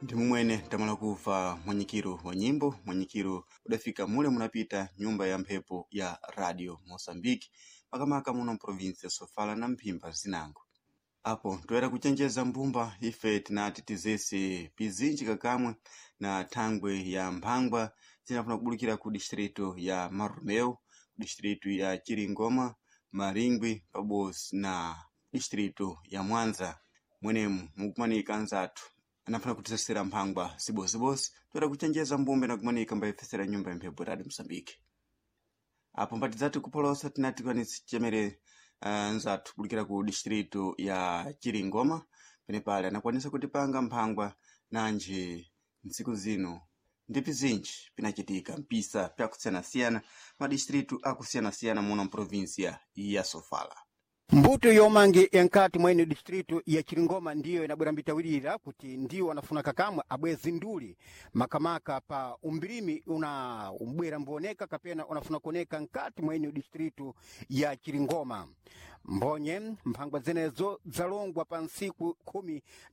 Ndi mumwene tamala kuva mwanyikiro wa nyimbo, mwanyikiro udafika mule munapita nyumba ya mphepo ya Radio Mosambiki, makamaka muno mprovinsi ya Sofala na Mphimba zinango. Apo toera kuchenjeza mbumba ife tinati tizese pizinji kakamwe na thangwe ya mphangwa zinafuna kubulukira ku distrito ya Marumeu, ku distrito ya Chiringoma, Maringwi pabodzi na distrito ya Mwanza. Mwenemu mukumanika anzathu anafuna kutisesera mphangwa zibozibozi toera kuchenjeza mbumba na kumanika mbayifesera nyumba ya mphepo Radio Mosambiki. Apo mpatidzati kupholosa tinati kwanisi chemere nzathu kubulukira ku distrito ya Chiringoma penepale anakwanisa kutipanga mphangwa nanji ntsiku zino ndi pizinji pinachitika mpisa pyakusiyanasiyana madistritu akusiyanasiyana muno mprovinsia ya Sofala. Mbuto yomange yankati mwene distritu ya Chiringoma ndiyo inabwera mbitawirira kuti ndiwo anafuna kakamwe abwezi nduli makamaka pa umbirimi una umbwera mbuoneka kapena unafuna kuoneka nkati mwene distritu ya Chiringoma. Mbonye mphangwa zenezo zalongwa pa nsiku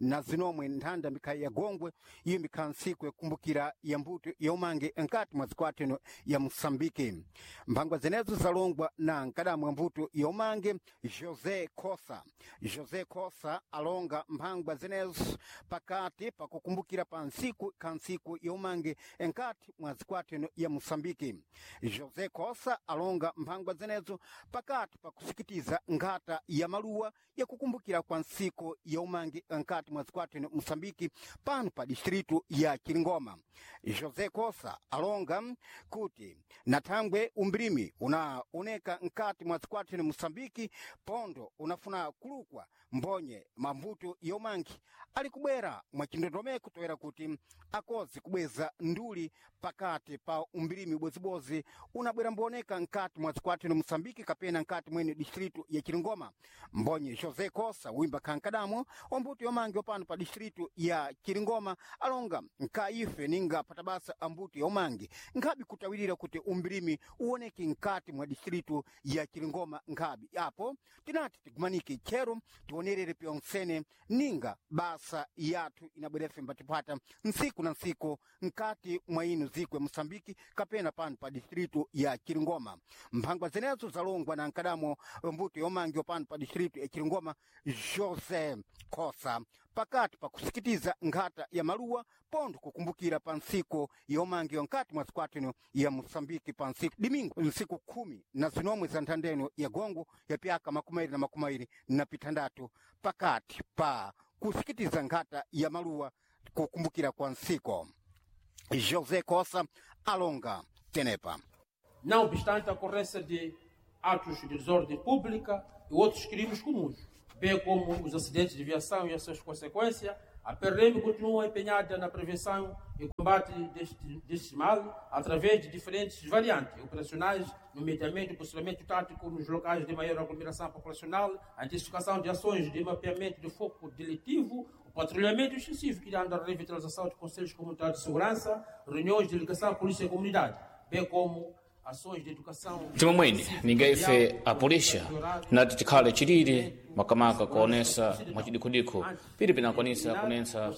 19 nthanda mikhayi ya Gongwe, iyo mikhala nsiku yakumbukira ya mbuto ya umange nkati mwa zikwateno ya Mosambiki. Mphangwa zenezo zalongwa na nkadamu wa mbuto ya umange José Kosa. José Kosa alonga mphangwa zenezo pakati pakukumbukira pa nsiku ka nsiku ya umange nkati mwa zikwateno ya Mosambiki. José Kosa alonga mphangwa zenezo pakati pakusikitiza nkhata ya maluwa yakukumbukira kwa nsiku ya umange nkati mwa zikwateno Mosambiki pano pa distritu ya Chiringoma. José Kosa alonga kuti nathangwe umbilimi unaoneka nkati mwa zikwateno Mosambiki pondo unafuna kulukwa mbonye mambuto yomangi ali kubwera mwachindondomeko toera kuti akozi kubweza nduli pakati pa umbilimi ubozibozi unabwera mbuoneka nkati mwa zikwateno Mosambiki kapena nkati mwene distritu ya Chiringoma. Mbonye José Kosa wimba kankadamo ombuto yomangi opano pa distritu ya Chiringoma alonga nka ife ninga patabasa ambuto yomangi nkhabi kutawirira kuti umbilimi uoneke nkati mwa distritu ya Chiringoma nkhabi apo tinati tigumanike tchero tionerere pyonsene ninga basa yathu inabwerefe mbatipata nsiku na nsiku nkati mwa ino ziko ya Mosambiki kapena pano pa distritu ya Chiringoma. Mphangwa zenezo zalongwa na nkadamo mbuto yomangi pano pa distritu ya Chiringoma José Kosa pakati pakusikitiza nkhata ya maluwa pondo kukumbukira pa nsiku yomangiwa nkati mwa zikwatino ya Mosambiki pa nsiku dimingo nsiku 19 za nthandeno ya Gongo ya pyaka 2026 pakati pa kusikitiza nkhata ya maluwa kukumbukira kwa nsiku. José Kosa alonga tenepa. Não obstante a ocorrência de atos de desordem pública e outros crimes comuns, bem como os acidentes de viação e as suas consequências, a PRM continua empenhada na prevenção e combate deste mal através de diferentes variantes operacionais, nomeadamente o posicionamento tático nos locais de maior aglomeração populacional, a intensificação de ações de mapeamento de foco delitivo, o patrulhamento extensivo que anda a revitalização de conselhos comunitários de segurança, reuniões de ligação à polícia e comunidade, bem como ações de educação. Timomwene ninga ife apulisha nati tikhale chilili makamaka kuonesa mwachidikudikhu pili pinakwanisa kunensa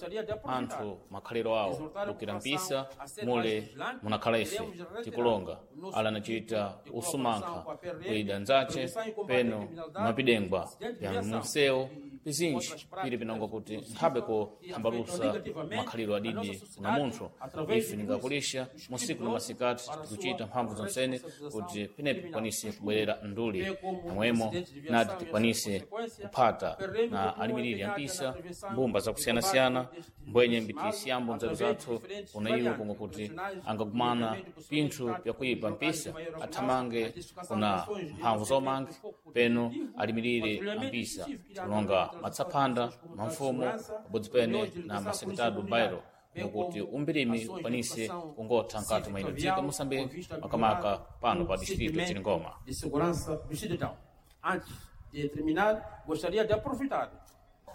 anthu makhaliro awo kukira mpisa mule munakhala ife tikulonga ala anachita usumankha kuyida nzache peno mapidengwa ya munsewu pizinji pili pinonga kuti nkhabe kuhambalusa makhaliro adidi kuna munthu. Ife ningakulisha musiku na masikati tikuchita mphamvu zonsene kuti penepo tikwanise kubwerera nduli momwemo nati tikwanise kuphata na alimiriri ya mpisa mbumba zakusiyanasiyana mbwenye mbitisiyambo nzeru zathu kuna iwo konga kuti angagumana pinthu pyakuyipa mpisa athamange kuna mphamvu zomange peno alimirire ampisa kulonga matsaphanda mamfumo pabodzi pene na masekretado bairo ngokuti umbirimi ukwanise kungotha nkati mwa ino dziko Moçambique makamaka pano pa distrito ya Chiringoma. De segurança do cidadão. Antes de terminar, gostaria de aproveitar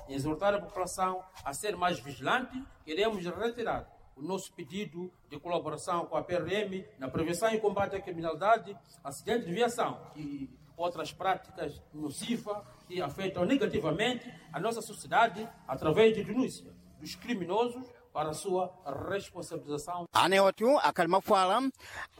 e exortar a população a ser mais vigilante. Queremos reiterar o nosso pedido de colaboração com a PRM na prevenção e combate à criminalidade, acidentes de viação e outras práticas nocivas que afetam negativamente a nossa sociedade através de denúncia dos criminosos para a sua responsabilização. Anewatu akali mafuala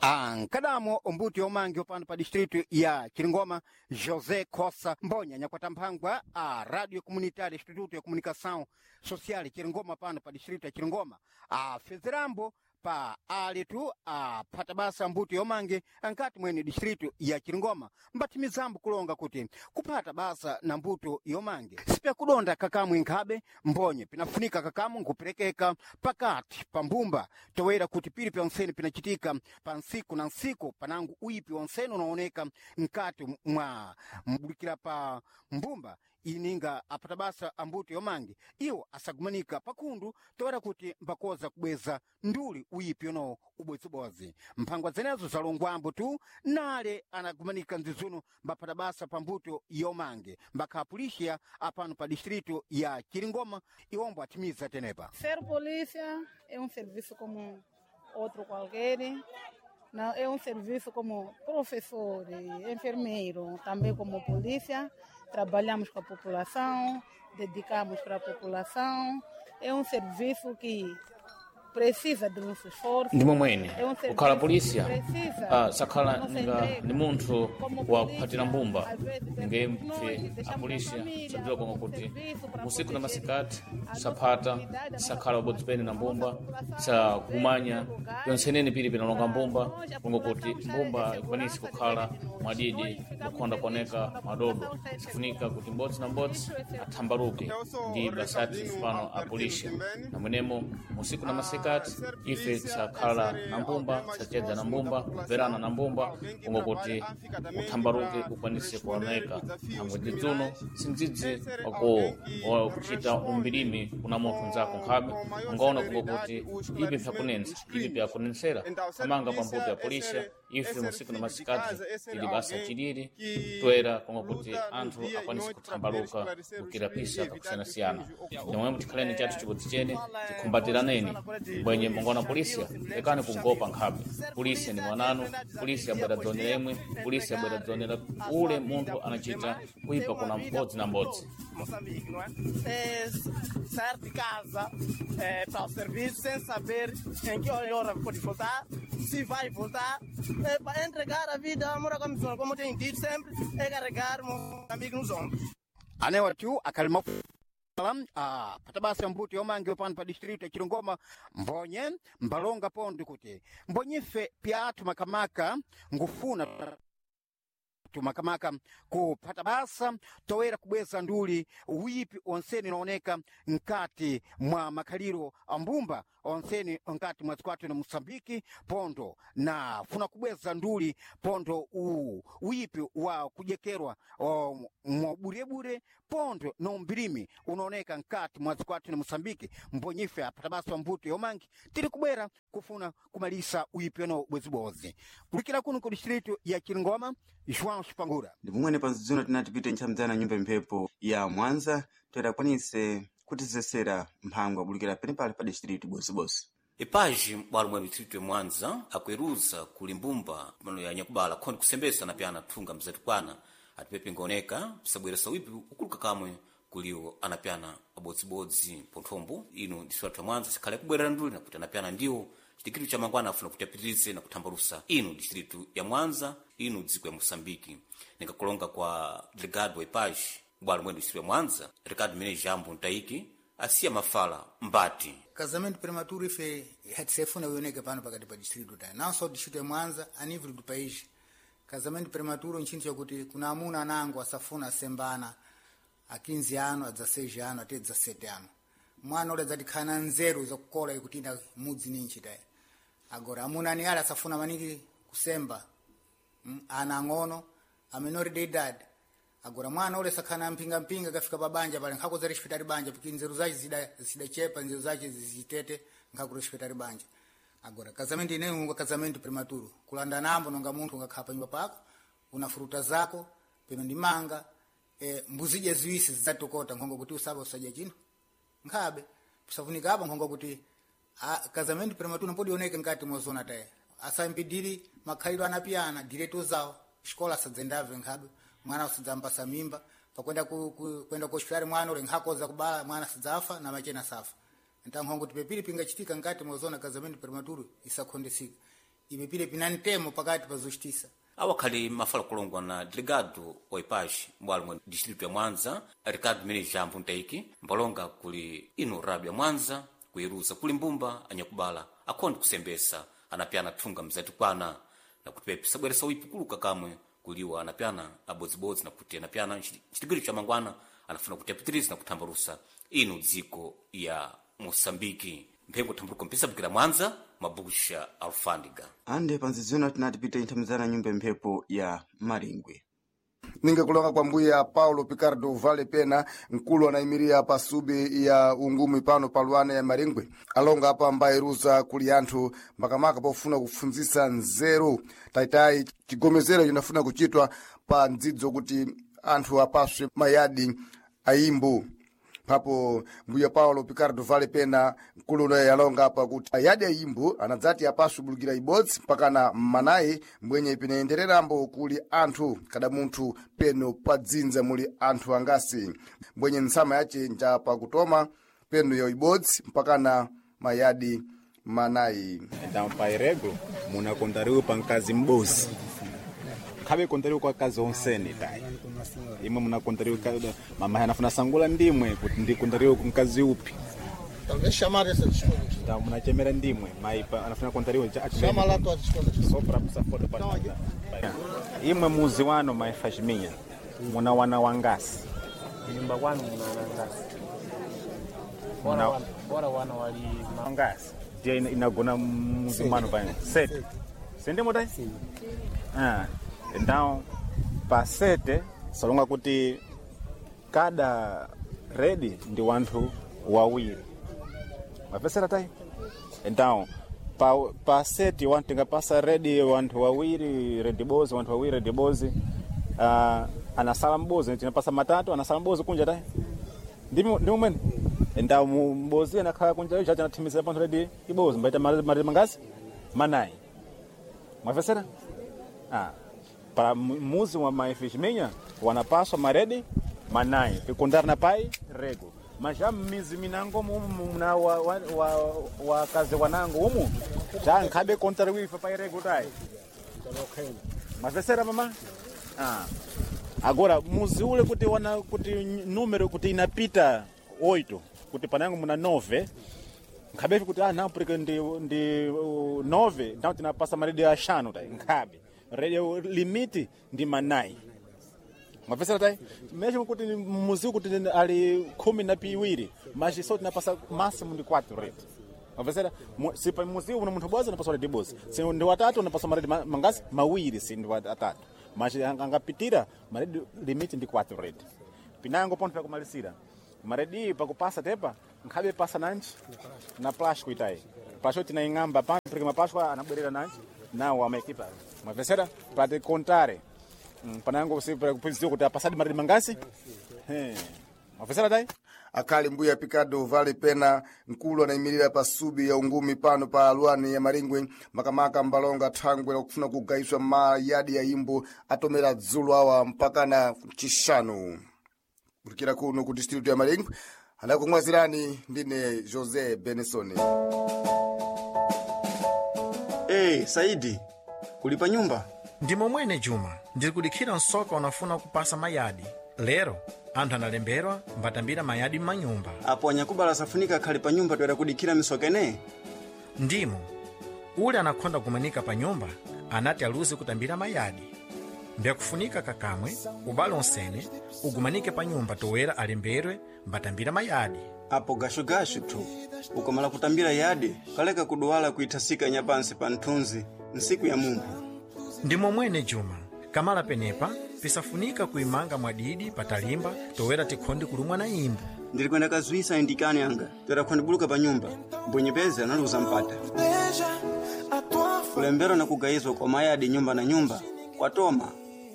ankadamo ombuto yomangi opano pa distrito ya Chiringoma, José Cossa Mbonya nyakwata mphangwa a Radio Comunitária Instituto ya Comunicação Social Chiringoma pano pa distrito ya Chiringoma afezerambo pa alitu aphata basa mbuto yomange ankati mwene distrito ya Chiringoma mbathimizambo kulonga kuti kuphata basa na mbuto yomange sipyakudonda kakamwe nkhabe mbonye pinafunika kakamu nkuperekeka pakati pa mbumba toera kuti pili pyonsene pinachitika pa nsiku na nsiku panangu uipi wonsene unaoneka nkati mwa mbulikira pa mbumba ininga aphata basa ambuto yomange iwo asagumanika pakhundu toera kuti mbakoza kubweza nduli uyipi uno ubwezibodzi mphangwa zenezo zalongwambo tu nale anagumanika mzizuno mbaphata basa pa mbuto yomange mbakhapulixiya apano pa distrito ya Chiringoma iwombo athimiza tenepa. Ser polícia é um serviço como outro qualquer. Não, é um serviço como professor, enfermeiro, também como polícia. Trabalhamos com a população, dedicamos para a população. É um serviço que precisa do nosso esforço. Ndi momwene É um serviço kukhala que polícia precisa sakhala da nossa ninga entrega. ni munthu Como wa polícia, kuphatira mbumba às vezes, ninge nós mpfe deixamos a a polícia família sadziwa konga como kuti serviço para usiku na proteger masikati a nossa saphata comunidade, a nossa sakhala ubodzi pene na mbumba população, sakumanya às vezes, lugares. yonsenene pili pinalonga mbumba Nós, a konga kuti população está mbumba em ikwanisi segurança kukhala diante de nós. mwadidi Nós ficamos kukhonda felizes kuoneka quando a madodo população está em sifunika segurança. kuti mbodzi na mbodzi Isso é segurança. athambaluke Eu sou ndi basati Ricardinho pano a Albertino polícia Timbene. namwenemo musiku na masikati Ser ife polícia é tisakhala ser na mbumba alguém mais tisachedza na próximo da mbumba população, kumverana na mbumba alguém que konga kuti trabalha afincadamente uthambaluke para ukwanise responder kuoneka os desafios thangwe dzidzuno criminais, sindzidzi é ser wako alguém que wakuchita responde umbirimi kuna munthu nzako com, nkhabe com maior ungaona kunga celeridade kuti o ipi esclarecimento pyakunensa dos ipi crimes. pyakunensera Então, ser amanga polícia pambuto ya é polícia ser, é ife ser musiku na filho de masikati casa, é ser ili basa alguém chilili que toera konga kuti luta no anthu dia e akwanise noite para poder kuthambaluka esclarecer os crimes e kukirapisa evitar que os kakusiyanasiyana crimes ocorram. nomwemo tikhaleni chathu chibodzi chene tikhumbatiraneni bwenye mungona polícia lekani kungopa nkhabe polícia ni mwananu polícia abwera dzonera imwe polícia abwera dzonera ule munthu anachita kuipa kuna mbodzi na mbodzi Moçambique, não é? É sair de casa para o serviço sem saber em que hora pode voltar, se vai voltar, é para entregar a vida à morar com a missão, como tenho dito sempre, é carregar Moçambique nos ombros. Anewatu akali mafuala aphata basa mbuto yomange pano pa distrito ya Chiringoma mbonye mbalonga pondo kuti mbonyife pyathu makamaka ngufuna tumakamaka kuphata basa toera kubweza nduli uyipi onseni unaoneka nkati mwa makhaliro a mbumba onseni nkati mwa dziko athu na Moçambike pondo na funa kubweza nduli pondo uyipi wa kujekerwa mwaburebure pondo na umbirimi unaoneka nkati mwa dziko athu na Moçambike mbonyife aphata basa mbuto yomangi tiri kubwera kufuna kumalisa uyipi uno bwezibodzi kulikira kuno ku distrito ya Chiringoma João Chipangura. Ndi pomwene pa nzidzino tinati tipite ntchamdzana nyumba mphepo ya Mwanza toera akwanise kutizesera mphangwa abulikira penepale pa distrito bosibose. Epaji m'bwalo mwa distrito ya Mwanza akweruza kuli mbumba mano ya nyakubala khoni kusembesa na pyana thunga mzatikwana atipepe ngaoneka pisabweresa wipi ukuluka kamwe kuliwo anapyana abodzibodzi ponthombo ino distrito ya Mwanza sikhale kubwerera nduli nakuti anapyana ndiwo chitikiro cha mangwana afuna kuti apitirize na kuthambalusa ino distrito ya Mwanza ino dziko ya Moçambike ningakulonga kwa delegado wa epaji bwalo mwa distrito ya Mwanza Ricardo Menezes Jambo Ntaiki asiya mafala mbati Casamento prematuro ife hatisefuna ioneke pano pakati pa distrito ta não só distrito ya Mwanza a nível do país. Casamento prematuro nchinthu chakuti kuna amuna anango asafuna asembana a 15 ano a 16 ano ate 17 ano mwana ule adzatikhala na nzeru zakukola ikutinda mudzi ninchi tayi agora amuna ani ale asafuna maningi kusemba ana ang'ono a menor de idade agora mwana ule sakhala na mpingampinga kafika pa banja pale nkhako za respetari banja porque nzeru zace zidachepa nzeru zace zitete nkhako respetari banja agora casamento ineyo unga casamento prematuro kulanda nambo nonga munthu ungakhala pa nyumba pako una fruta zako peno ndi manga mbuzidya ziwisi zidzatokota nkhongo kuti usaba usadya chinthu nkhabe kusafunika apo nkhongo kuti casamento prematuro mpodioneke nkati mwa zona taye asampidiri makhalidwe anapiyana direto zawo xikola asadzendave nkhabe mwana usadzampasa mimba pakwenda kwenda ku hospitali mwana ule nkhakoza kubala mwana sadzafa na machena safa. Então hongo tipepiri pingachitika ngati mwazona casamento prematuro isakhondesika ipepire pina ntemo pakati pa justiça. Awakhali mafala kulongwa na delegado wa ipaxi m'bwalo mwa distrito ya Mwanza, Ricardo Menezes Jambo Ntaiki, mbalonga kuli ino rádio ya Mwanza kuiruza kuli mbumba anyakubala akhonde kusembesa anapyana thunga mzatikwana na kuti pepe sabweresa uipi kuluka kamwe kuliwa anapyana abodzibodzi na kuti anapyana nchitigwiro cha mangwana anafuna kuti apitirize na kuthambalusa ino dziko ya Moçambike. Mphengo thambaluka mpisabukira Mwanza, mabusha alfândiga. Ande panzizona tinati pita inthamizana nyumba mphepo ya Maringwe. Ninga kulonga kwa mbuya Paulo Picardo Vale Pena, mkulu anayimiria pa subi ya ungumi pano paluana ya Maringwe, alonga apa ambayeruza kuli anthu makamaka pofuna kufunzisa nzeru taitayi chigomezero chinafuna kuchitwa pa ndzidzo kuti anthu apaswe mayadi ayimbo. Papo mbuya Paulo Picardo Vale Pena mkulu unoye alonga apa kuti ayadi ayimbo anadzati apaswe bulukira ibodzi mpakana mmanayi mbwenye pinayendererambo kuli anthu kada munthu peno padzinza muli anthu angasi mbwenye ntsama yace nja pakutoma peno ya ibodzi mpakana mayadi manayi. Então pairego munakontariwe pa mkazi m'bozi khabe kontariwe kwa kazi onsene tayi imwe munakontariwe mama anafuna sangula ndimwe kuti ndikontariwe ku mkazi upi. Talvez chamar essas escolas. Então munachemera ndimwe mai anafuna kontariwe Chama lá todas as escolas. Só para pusa foto para imwe muzi wano mai fashiminya muna wana wangasi nyumba kwanu muna wanangasi bora wana wali wangasi ndiye inagona muzi mwano pano sete sende motai. Ah, então pa sete salonga kuti kada redi ndi wanthu wawiri mapesera tai. Então pa sete wanthu tingapasa redi wanthu wawiri redi bozi wanthu wawiri redi bozi, anasala mbozi tinapasa matatu anasala mbozi kunja tai ndimo mwene. Então mbozi anakhala kunja icho chanathimisira panthu redi ibozi mbaita maredi mangasi manayi mwapesera. Ah, para muzi wa maifishiminya wanapaswa maredi manayi pikundana na pai rego mas já mizi minango mumu muna wakazi wanango umu já nkhabe kontariwifa pai rego tai mavesera mama. Ah, agora muzi ule kuti wana kuti número kuti inapita 8 kuti panango muna 9 nkhabefi kuti ah não porque ndi 9 então tinapasa maredi axanu tai nkhabe radio limiti ndi manayi mapesera tai mesmo kuti muziku kuti ali 12 mas só tinapasa máximo ndi 4 rate mapesera si pa muziku una munthu bozi unapasa redi bozi si ndi watatu unapasa maredi mangasi mawiri si ndi atatu mas angapitira maredi limiti ndi 4 rate pinango ponto pakumalisira maredi pakupasa tepa nkhabe pasa nanji na plástico itai plástico tinaing'amba pa porque maplástico anabwerera nanji nawo amaekipa mwavesera pati kontare panango kuphunziwa kuti apasadi maredi mangasi mwavesera tai. Akhali mbuya Picardo Vale Pena mkulu anayimirira pa subi ya ungumi pano pa aluani ya Maringwe makamaka mbalonga thangwe lakufuna kugayiswa mayadi ya imbo atomera dzulo awa mpakana chixanu. Kulikira kuno ku distritu ya Maringwe anakumwazirani ndine Jose Benson. Hey, Saidi, kuli pa nyumba? Ndimo mwene Juma, ndiri kudikhira msoka unafuna kupasa mayadi lero anthu analemberwa mbatambira mayadi m'manyumba. Apo anyakubala safunika akhale pa nyumba toera kudikhira misoka ineyi? Ndimo ule anakhonda kumanika pa nyumba anati aluze kutambira mayadi mbyakufunika kakamwe ubale onsene ugumanike pa nyumba toera alemberwe mbatambira mayadi. Apo gashugashu tu ukamala kutambira yadi kaleka kuduwala kuithasika nyapansi pa nthunzi nsiku ya munthu. Ndimo mwene Juma, kamala penepa pisafunika kuimanga mwadidi patalimba toera tikhonde kulumwa na imbo. Ndili kwenda kazwisa indikani anga toera khondibuluka pa nyumba mbwenyepeze analuza mpata kulembera na kugayizwa kwa mayadi nyumba na nyumba kwatoma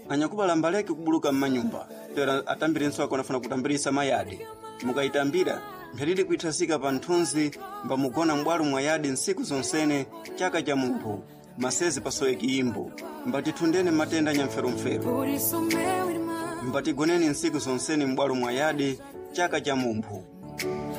anyakubala mbaleke kubuluka mmanyumba toera atambire nswako anafuna kutambirisa mayadi mukayitambira mpheridi kuithasika pa nthunzi mbamugona m'bwalo mwa yadi nsiku zonsene chaka cha munthu masezi pasoweki imbo mbatithundeni matenda nyamferumferu mbatigoneni nsiku zonsene m'bwalo mwa yadi chaka cha mumphu.